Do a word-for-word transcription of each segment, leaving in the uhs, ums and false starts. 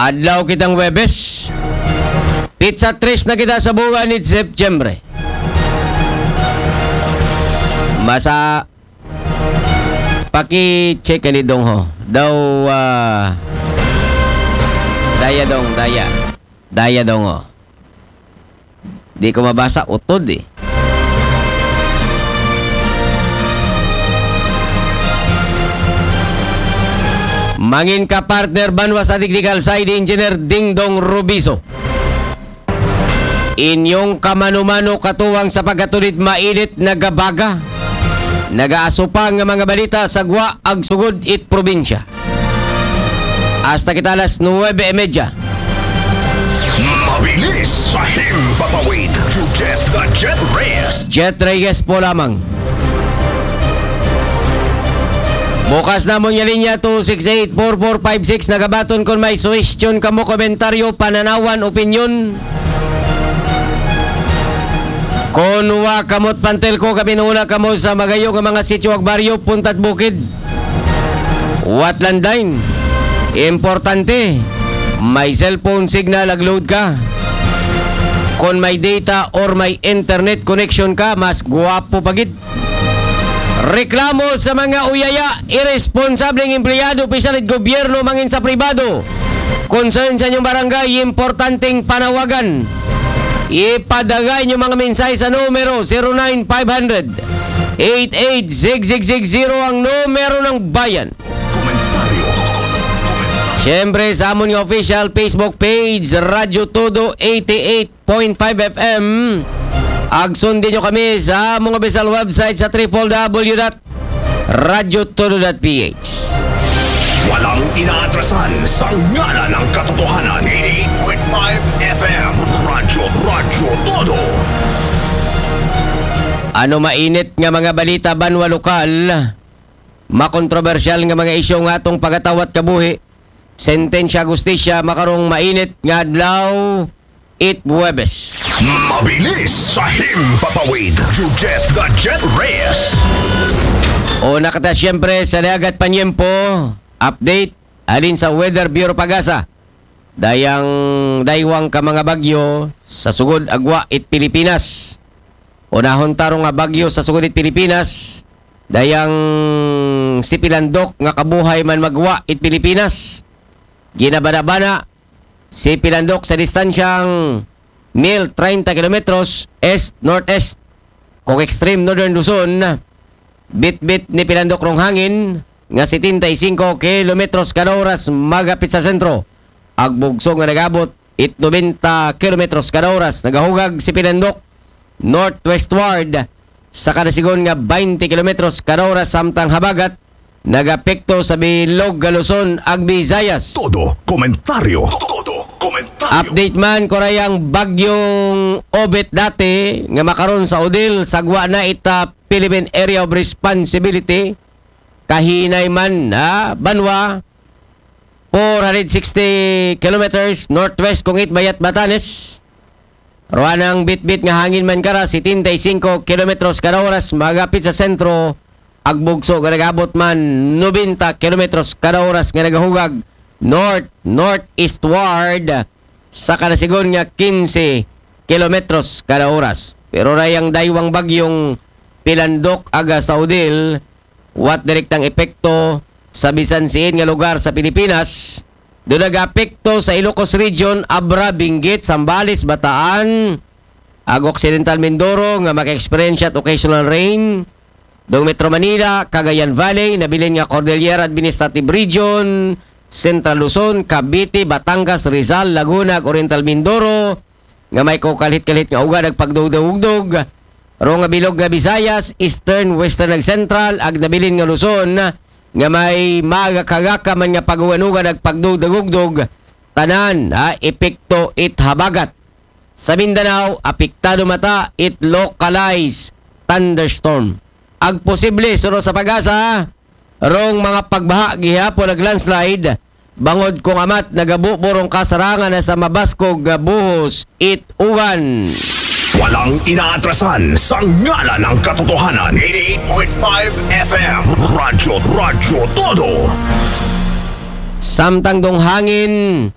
Adlaw kitang Webes. Pitsa tres na kita sa buwan ni September. Masa paki-check ni dong ho. Daw, ah, daya dong, daya. Daya dong ho. Di ko mabasa, utod eh. Mangin ka partner banwa sa technical side, Engineer Dingdong Rubiso. Inyong kamano-mano katuwang sa pagkatulid mainit nagabaga. Nagaasupa nga mga balita sa gwa ag sugod it probinsya. Hasta kita alas nuwebe y media. Mabilis sa himpapawid. Jujet the Jet Reyes. Jet Reyes po lamang. Bukas namon nga linya two six eight four four five six. Nagabaton kon may suwestyon kamo, komentaryo, pananawan, opinyon. Kon wa kamo't pantel ko, kami nuna kamo sa magayo nga mga sityo ag baryo, punta'd bukid. Watlandain. Importante, may cellphone signal ag load ka. Kon may data or may internet connection ka, mas gwapo pa gid. Reklamo sa mga uyaya, iresponsableng empleyado, opisyal id gobyerno, mangin sa pribado. Concern sa inyong barangay, importanteng panawagan. Ipadagay inyo mga mensahe sa numero zero nine five hundred eight eight six six six zero, ang numero ng bayan. Komentaryo. Siyempre, sa amon nga official Facebook page, Radyo Todo eighty-eight point five F M. Ag sundin nyo kami sa among official website sa triple W dot radyo todo dot P H. Walang inaatrasan sa ngalan ng katotohanan. Eighty-eight point five F M. Radyo, Radyo Todo. Ano mainit nga mga balita banwa lokal? Makontrobersyal nga mga isyu nga atong pagatawat kabuhi. Sentensya, hustisya, makarong mainit nga adlaw, it Huwebes. Mabilis sa himpapawid. Jujet the Jet Reyes. O nakata siyempre sa dagat panyempo, update, alin sa Weather Bureau Pagasa. Dayang daywang ka mga bagyo sa sugod agwa it Pilipinas. Unahon taro nga bagyo sa sugod it Pilipinas, dayang si Pilandok nga kabuhay man magwa it Pilipinas. Ginabana-bana si Pilandok sa distansyang mil treinta kilometros east-northeast. Kung extreme northern Luzon, bitbit ni Pilandok rong hangin nga setenta y cinco kilometros kada oras magapit sa sentro. Agbugso nga nagabot it nobenta kilometros kada oras. Nagahugag si Pilandok northwestward sa kada sigon nga twenty kilometros kada oras, samtang habagat nagapekto sa bilog nga Luzon ag Visayas. Todo komentaryo. Todo komentaryo. Update man, kurayang bagyong Obet dati nga makaron sa Odil, sagwa na ita Philippine Area of Responsibility. Kahinay man, ha, banwa, four hundred sixty kilometers northwest kung it bayat Batanes. Ruanang bitbit nga hangin man kara, setenta y cinco kilometros kada oras, magapit sa sentro. Agbugso nga nagabot man, nobenta kilometros kada oras nga nagahugag north, northeastward sa kada sigon nga quince kilometros kada oras. Pero rayang daywang bagyong Pilandok aga sa Odil, wat direktang epekto sa bisan siin nga lugar sa Pilipinas. Do nagaapekto sa Ilocos Region, Abra, Benguet, Zambales, Bataan, ag Occidental Mindoro nga maka-experience at occasional rain. Dong Metro Manila, Cagayan Valley, nabilin nga Cordillera Administrative Region, Central Luzon, Cavite, Batangas, Rizal, Laguna, ag Oriental Mindoro, nga may kakalhit-kalhit nga ugan ag pagdugdog-ugdog. Ro nga bilog nga Visayas, Eastern, Western ag Central, ag nabilin nga Luzon, nga may magakagaka man nga pag-ugan-ugan ag pagdugdog-ugdog, tanan, ha, epekto it habagat. Sa Mindanao, apektado mata it localized thunderstorm. Ag posible, suno sa Pagasa, rong mga pagbaha gihapon ag landslide, bangod kung amat nagabubo rong kasarangan na sa mabaskog nga buhos it ugan. Walang inaatrasan sa ngalan ng katotohanan. Eighty-eight point five F M. Radyo, Radyo Todo. Samtang dong hangin,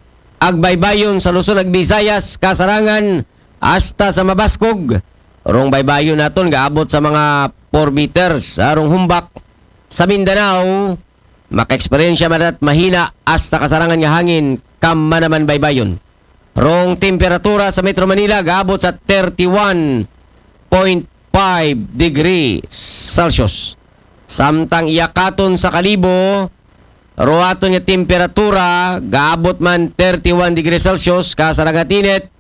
ag baybayon sa Luzon ag Visayas, kasarangan hasta sa Mabaskog. Rong baybayon naton gaabot sa mga four meters, ah, rong humbak sa Mindanao, makaeksperyensya man at mahina hasta kasarangan nga hangin, kamanaman baybayon. Rong temperatura sa Metro Manila gaabot sa thirty-one point five degree Celsius. Samtang iyakaton sa Kalibo, ruwaton nga temperatura gaabot man thirty-one degree Celsius, kasarangan init.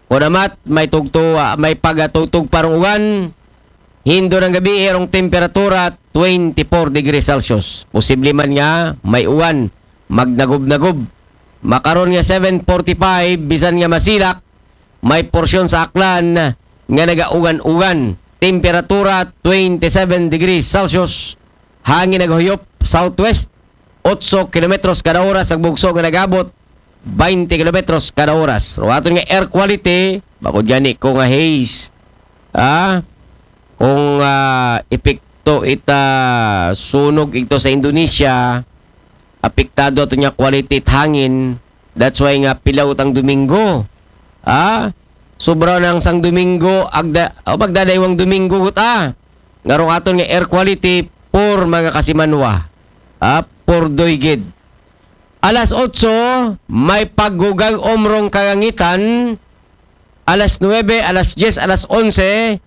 Kunamat, may tugto, ah, may pagatugtog pa rong uwan. Hindo ng gabi, erong temperatura twenty-four degrees Celsius. Posible man nga may uwan, magnagob-nagob. Makaron nga seven forty-five, bisan nga masilak, may porsyon sa Aklan nga nagaugan-ugan. Temperatura twenty-seven degrees Celsius. Hangin naghuyop southwest, otso kilometros kada oras. Ang bugso nga nagabot twenty kilometros kada oras. Ruwaton nga air quality, bako dyan ko nga haze. Ah, kung, ah, epekto ita sunog ito sa Indonesia, apektado ato niya quality it hangin. That's why nga pilaw tang Domingo. Ah, sobra nang sang Domingo, agda, o magdadaywang Domingo gut, ah. Ngarong aton nga air quality, poor mga kasimanwa. Ah, poor doy gid. Alas otso, may paggugag omrong kagangitan. Alas nuebe, alas diyes, alas onse,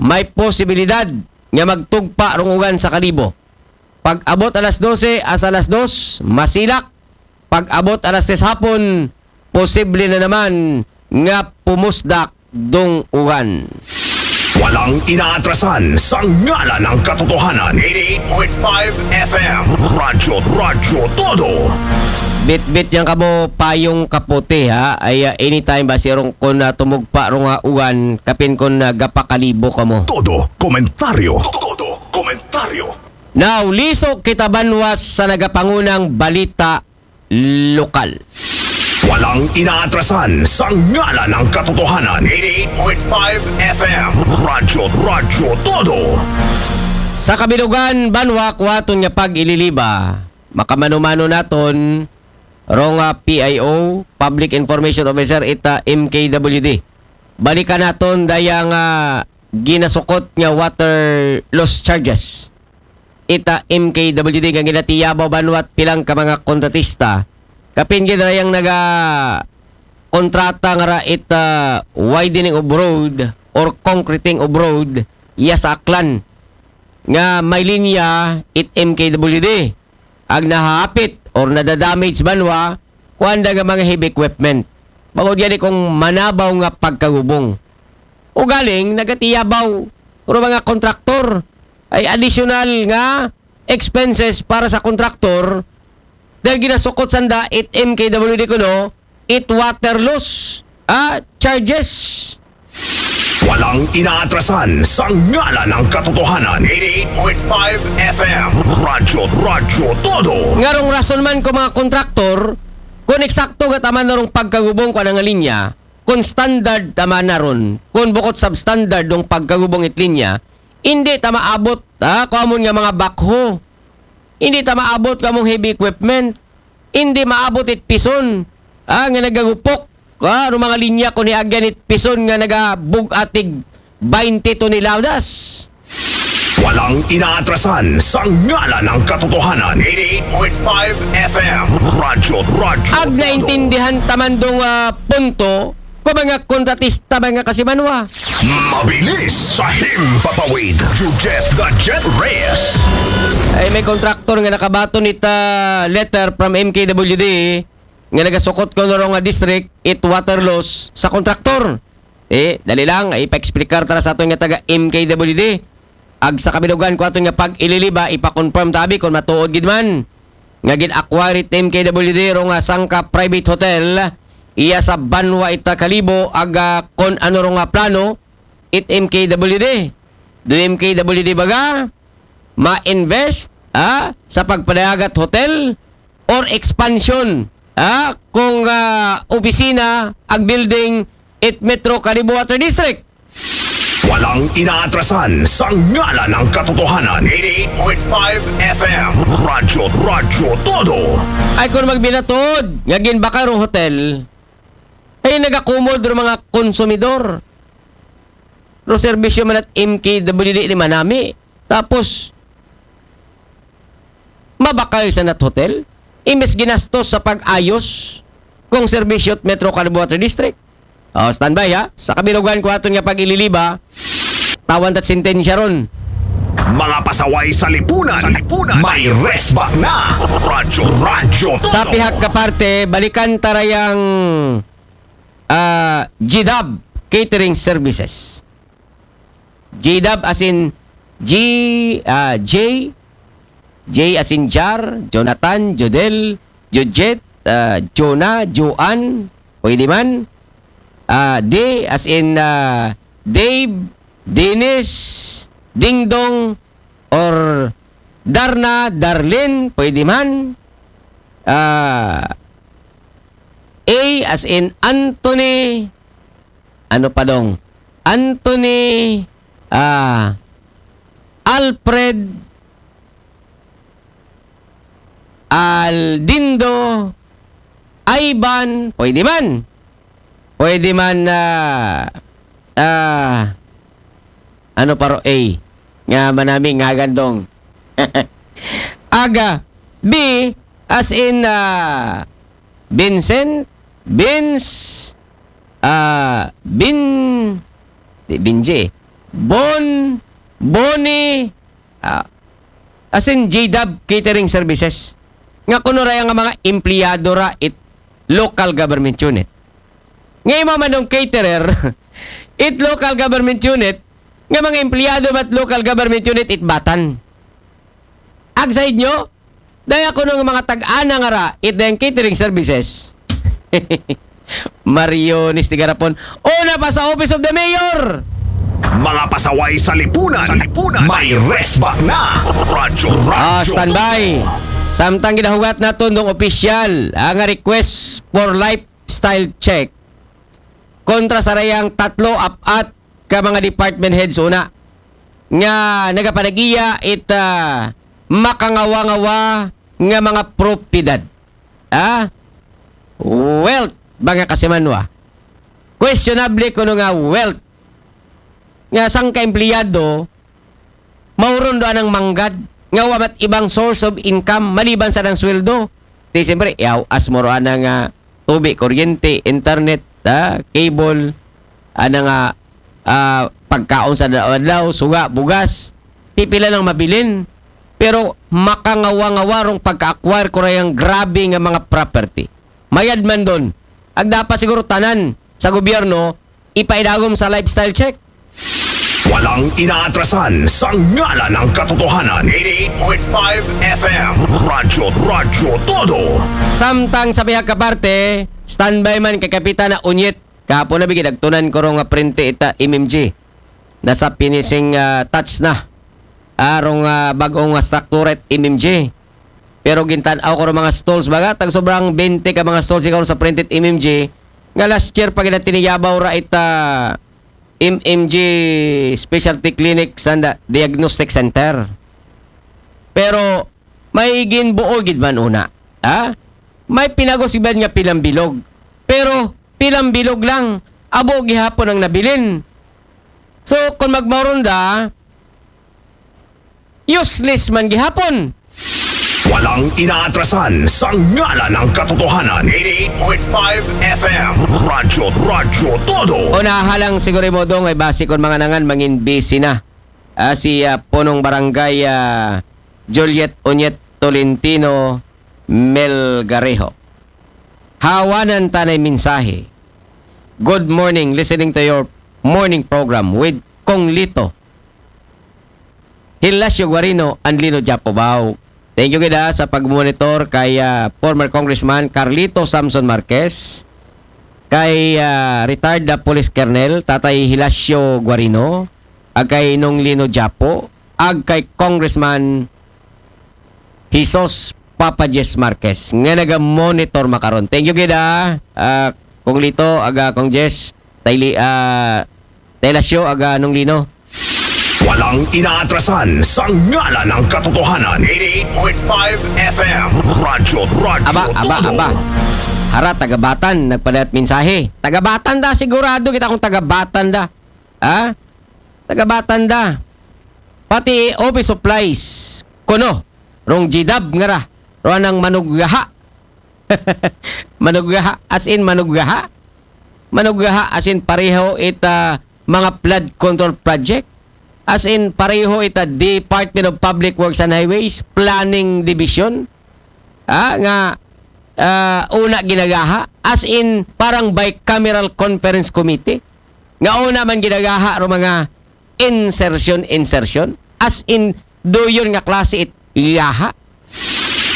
may posibilidad nga magtugpa rong ugan sa Kalibo. Pag-abot alas dose, as alas dos, masilak. Pag-abot alas tres hapon, posible na naman nga pumusdak dong ugan. Walang inaatrasan sa ngalan ng katotohanan. Eighty-eight point five F M. Radyo, Radyo Todo. Bitbit yang kamo payong kaputi, ha. Ay, ah, anytime ba sirong kun, ah, tumugpa rong, ah, uwan, kapin kun, ah, gapakalibo kamo. Todo komentaryo. Todo komentaryo. Now, liso kita banwas sa nagapangunang balita lokal. Walang inaatrasan sa ngalan ng katotohanan. Eighty-eight point five F M. Radyo, Radyo Todo. Sa kabilugan, banwa, kuwaton nga pag-ililiba, makamano-mano naton, rong, ah, P I O, Public Information Officer, ita M K W D. Balikan naton dayang, ah, ginasukot nga water loss charges ita M K W D nga ginatiyabaw banwat pilang ka mga kontratista. Kapin gid rayang naga kontrata nga ra ita widening of road or concreting of road iya sa Aklan nga may linya it M K W D. Ag nahapit or nadadamage banwa, kuan da nga mga heavy equipment. Bangod gani kung manabaw nga pagkagubong. Ugaling, nagatiyabaw, pero mga kontraktor, ay additional nga expenses para sa kontraktor dahil ginasukot sanda it M K W D kuno, it water loss, ah, charges. Walang inaatrasan sa ngalan ng katotohanan. Eighty-eight point five F M. Radyo, Radyo Todo. Ngarong rason man ko mga kontraktor, kung eksakto nga taman na rong pagkagubong ko nga linya, kung standard taman na ron, kung bukod substandard ng pagkagubong it linya, hindi ta maabot, ha, kung amon nga mga backhoe, hindi ta maabot kung among heavy equipment, hindi maabot it pison, ha, nga nagagupok, ha, ng mga linya kung niagyan it pison nga nagabugatig twenty toneladas. Walang inaatrasan sa ngalan ng katotohanan. Eighty-eight point five F M. Radyo, Radyo Ag Todo. Naintindihan taman dong, ah, punto ko mga kontratista, mga kasimanwa. Mabilis sa himpapawid. Jujet the Jet Reyes. Ay, may kontraktor nga nakabaton ita letter from M K W D nga nagasukot ko nga district it water loss sa kontraktor. Eh, dali lang, ipa-explicar tara sa aton nga taga M K W D. Ag sa kabilugan ko aton nga pag-ililiba, ipa-confirm tabi kung matuod gid man nga gin-acquire it M K W D ro nga sangka private hotel iya sa banwa ita Kalibo, aga kon ano ro nga plano it M K W D. Do M K W D baga ma-invest, ah, sa pagpadayagat hotel or expansion, ah, kung, ah, opisina ag building it Metro Kalibo Water District? Walang inaatrasan sa ngalan ng katotohanan. Eighty-eight point five F M. Radyo, Radyo Todo. Ay, kung magbinatod nga ginbakar ang hotel, Ay, nagakumod ro mga konsumidor. Ro serbisyo man at M K W D ni manami. Tapos, mabakal sa nat hotel. Imbes ginastos sa pag-ayos kung serbisyo at Metro Caloocan Water District. Oh, standby ha. Sa kabilugan ko aton nga pag-ililiba, tawan tat sentensya ron. Mga pasaway sa lipunan. Sa lipunan. May resback na. Radyo, radyo, Sa todo. Pihak ka parte, balikan tarayang ah, G-Dub Catering Services. G-Dub as in G, ah, J, J as in Jar, Jonathan, Jodel, Jojet, ah, Jonah, Joan, pwede man. Ah, D as in ah, Dave, Dennis, Dingdong, or Darna, Darlene, pwede man. Ah, A as in Anthony, ano pa dong? Anthony, ah, Alfred, Aldindo, Ivan, pwede man. Pwede man, ah, ah, ano pa ro A? Nga manami nga gandong. Aga, B as in ah, Vincent, Vince, ah, Bin, di Binji, Bon, Boni, ah, as in G-Dub Catering Services. Nga kuno raya nga mga empleyado ra it local government unit. Nga imo man dong caterer, it local government unit, nga mga empleyado mat local government unit it batan. Ag sa inyo, daya kuno nga mga tag-ana nga ra it dayang catering services. Mariones ti garapon. Una pa sa Office of the Mayor. Mga pasaway sa lipunan. Sa lipunan. May resback na. Radyo, radyo. Ah, standby. Samtang ginahugat naton dong opisyal, ah, nga request for lifestyle check kontra sa rayang tatlo, apat ka mga department heads una nga nagapanag-iya it ah, makangawa-ngawa nga mga propiedad. Ah? Wealth, ba nga kasimanwa. Questionable kuno nga wealth. Nga sangka empleyado, mauron do anang manggad, nga wa mat ibang source of income maliban sa nang sweldo. Di siyempre, yaw, as mo ro ana nga tubi, kuryente, internet, ah, cable, ana nga ah, pagkaon sa adlaw, suga, bugas, ti pila nang mabilin. Pero makangawa-ngawa rong pagka-acquire ko rayang grabe nga mga property. Mayad man don. Ag dapat siguro tanan sa gobyerno, ipaidagom sa lifestyle check. Walang inaatrasan sa ngalan ng katotohanan. Eighty-eight point five F M. Radyo, radyo, todo. Samtang sa pihak ka parte, standby man kay Kapitana Unyit. Kahapon na bigid, agtunan ko rong nga printe ita M M G. Nasa finishing ah, touch na. Arong ah, bag-ong ah, structure it M M G. Pero gintan-aw ko rong mga stalls baga, tag sobrang twenty ka mga stalls ikaw sa printed M M G. Nga last year pa gina tiniyabaw ra ita M M G Specialty Clinic sanda Diagnostic Center. Pero may ginbuo gid man una. Ha? May pinagos gid man nga pilang bilog. Pero pilang bilog lang. Abo gihapon ang nabilin. So, kung magmaronda, useless man gihapon. Walang inaatrasan sa ngalan ng katotohanan. Eighty-eight point five F M. Radyo, radyo, todo. Unaha lang siguro mo dong ay basi kung mga nangan mangin busy na. Ah, si ah, Punong Barangay ah, Juliet Unyet Tolentino Melgarejo. Hawanan tanay mensahe. Good morning, listening to your morning program with Kong Lito. Hilasio Guarino and Lino Japobao. Thank you gid ah, sa pagmonitor kay ah, former Congressman Carlito Samson Marquez, kay ah, retired na Police Colonel Tatay Hilasio Guarino, ag kay Nong Lino Japo, ag kay Congressman Jesus Papa Jess Marquez nga naga-monitor makaron. Thank you gid ah, ah, Kong Lito, aga Kong Jess, Tayli, ah, Taylasyo, aga Nong Lino. Walang inaatrasan sa ngalan ng katotohanan. Eighty-eight point five F M. Radyo, radyo, Aba, aba, todo. Aba. Hara, taga-Batan, nagpadayat mensahe. Taga-Batan da, sigurado kita kung taga-Batan da. Ha? Taga-Batan da. Pati office supplies. Kuno, rong G-Dub nga ra. Rong anang manuggaha. Manuggaha, as in manuggaha. Manuggaha, as in pareho ita mga flood control project. As in pareho ita Department of Public Works and Highways, Planning Division. Ah, nga ah, una ginagaha, as in parang bicameral conference committee. Nga una man ginagaha ro mga insertion, insertion. As in, duyon nga klase it gaha.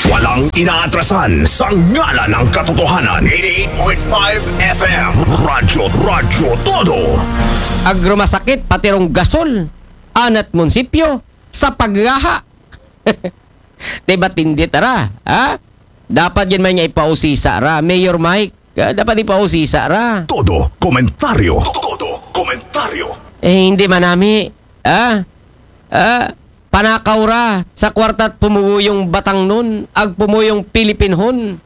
Walang inaatrasan sa ngalan ng katotohanan. eighty-eight point five F M. Radyo, Radyo Todo. Agrumasakit, pati rong gasol, anat munisipyo, sa paggaha. Di ba tindit ara? Ha? Dapat yan man niya ipausisa ra. Mayor Mike, ah, dapat ipausisa ra. Todo komentaryo. Todo komentaryo. Eh, hindi manami. Ah? Ah? Panakaw ra sa kwarta't pumuyong Batangnon, ag pumuyong Pilipinhon.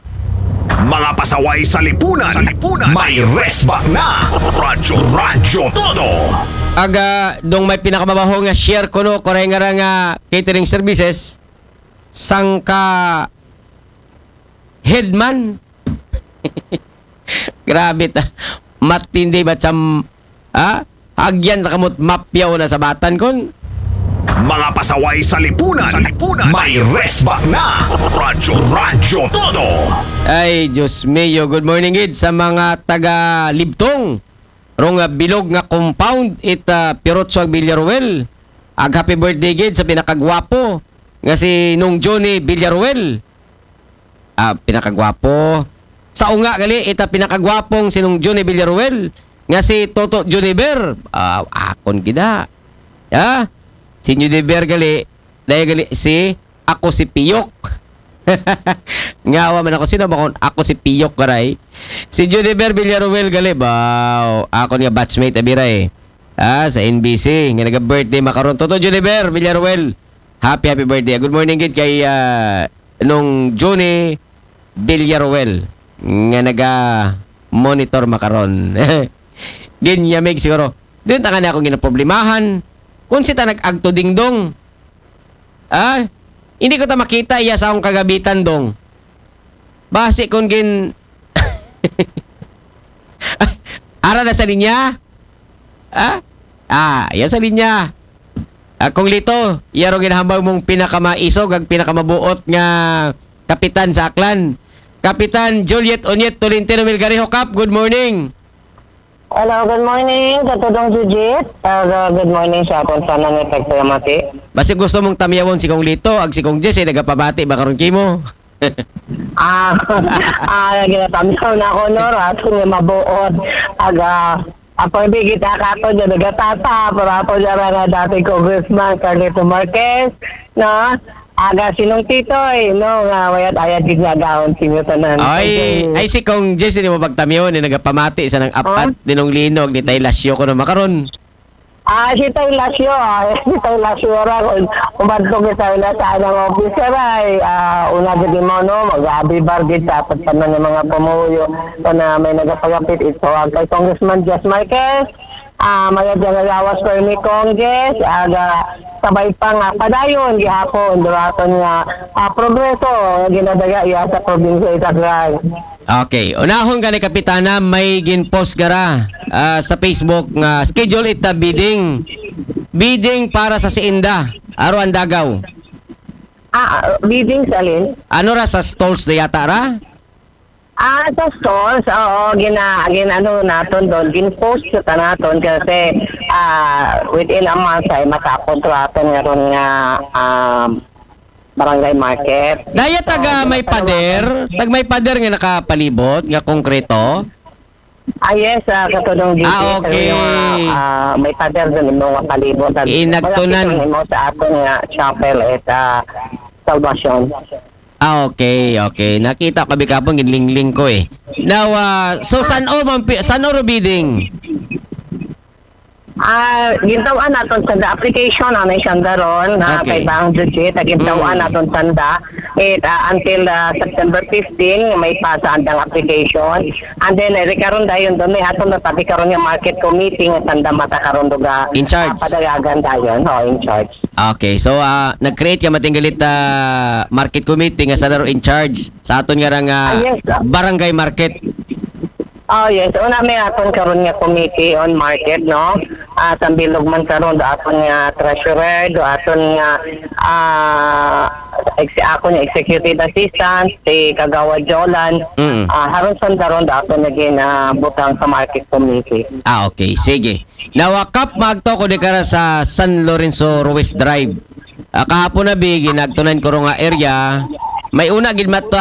Mga pasaway sa lipunan. Sa lipunan. May resback na. Radyo, Radyo Todo. Aga, dong may pinakamabaho nga share ko, no, kuray nga ra nga catering services, sangka headman. Grabe ta. Matindi ba sam, ha? Agyan na kamot mapyaw na sa Batan kon. Mga pasaway sa lipunan. Sa lipunan. May resback na. Radyo, Radyo Todo. Ay, Diyos mio. Good morning, gid, sa mga taga Libtong. Rong, ah, bilog nga compound, it, ah, Pirotso ag Villaruel. Ag happy birthday, gid, sa pinakagwapo nga si Nong Johnny Villaruel. Ah, pinakagwapo. Sa unga gali, ita pinakagwapong si Nong Johnny Villaruel nga si Toto Juniver. Ah, akon gida. Ya? Si Juniver gali, dahil gali si Ako si Piyok. Ngawa man ako, sino ba kon Ako si Piyok, karay? Si Juniver Villaruel gali, baw. Akon nga batchmate, abira eh. Ah, sa N B C, nga naga-birthday makaron. Toto Juniver Villaruel. Happy, happy birthday. Good morning, gid, kay, ah, Nong Johnny Villaruel nga naga-monitor makaron. Ginyamig siguro. Dun ta nga na akong ginaproblemahan. Kung si ta nag-agto dingdong. Ah? Hindi ko ta makita iya sa akong kagabitan, dong. Basi kung gin... Ara na sa linya? Ah? Ah, iya sa linya. Ah, Kong Lito, iya ro ginahambal mong pinakamaisog ag pinakamabuot nga kapitan sa Aklan. Kapitan Juliet Onyet Tolentino Melgarejo Cap, good morning. Hello, good morning, Katudong Jujit. Uh, good morning sa aton tanan nga tagpalamati. Basi gusto mong tamyawon si Kong Lito, ag si Kong Jess, eh, nagapamati ba karon kimo? Ah, ah, ginatamyaw na ako, no, rason nga mabuot. Aga, ako, hindi kita kato dyan, nagatata, pero ako dyan nga dati Congressman Carlito Marquez, no? Aga, sinong titoy, no, nga wayat ayat gid nga gahon sinyo tanan. Ay, Thank you. Ay, si Kong Jess, hindi mo pagtamyaw, ni nagapamati sa nang apat, Oh? Ninong Lino, ag ni Tay Lasyo ko na makaron. Ah, si Tay Lasyo, ah, si Tay Lasyo ra, kung umadto kita na sa anang officer ay, ah, una gid mo, no, mag-abi bargid sa apat pa man ng mga pumuyo, kung na may nagapagapit ito, ang kay Congressman Jess Marquez, ah, mayad nga gawas ko ni Congress, aga, sabay pa nga, padayon, gihapon, duraton nga, ah, progreso, nga ginadaga iya sa probinsya Itagray. Okay. Unahon gani, Kapitana, may ginpost gara, ah, sa Facebook nga schedule ita bidding. Bidding para sa Siinda. Aro ang dagaw. Ah, bidding sa alin? Ano ra sa stalls da yata ra? Ah, sa stalls, oo, gina, gin, ano naton doon, gin-post sa naton kasi, ah, within a month ay matapos raton nga ron nga, um, barangay market. Daya taga So, may pader, tag may pader nga nakapalibot, nga konkreto. Ah, yes, ah, katulong dito. Ah, okay. Yung, ah, may pader doon, yung mga palibot. At Inagtunan. Malapit yung imo sa aton nga chapel at, ah, Salvation. Ah, okay, okay. Nakita ko bikapon, ginlingling ko eh. Now, ah, so, san o man pi-, san o ro bidding? Ah, gintawan naton sa the application, ano yung sanda ron, na Okay. kay Bang Jujit, ah, gintawan Mm. naton sanda. it, ah, until, ah, September fifteen, may pasa andang application. And then, eh, karon dayon doon, may aton natabi karon nga market committee nga sanda mata karon duga, In charge. ah, padagagan dayon, ho, in charge. Okay, so ah nag-create ka matinggalit ah, market committee nga sanda ro in charge sa aton nga rang ah, Ah, yes, ah. barangay market. Oh, yes. Una may aton karon nga committee on market, no? Ah, sambilog man karon do aton nga treasurer, do aton nga ah ex- ako nga executive assistant, si Kagawad Jolan. Mm. Ah, haron sanda ron do aton naging ah, butang sa market committee. Ah, okay. Sige. Nawakap magto ko di kara sa San Lorenzo Ruiz Drive. Ah, kahapon na bigi nagtunan ko ro nga area. May una gid mato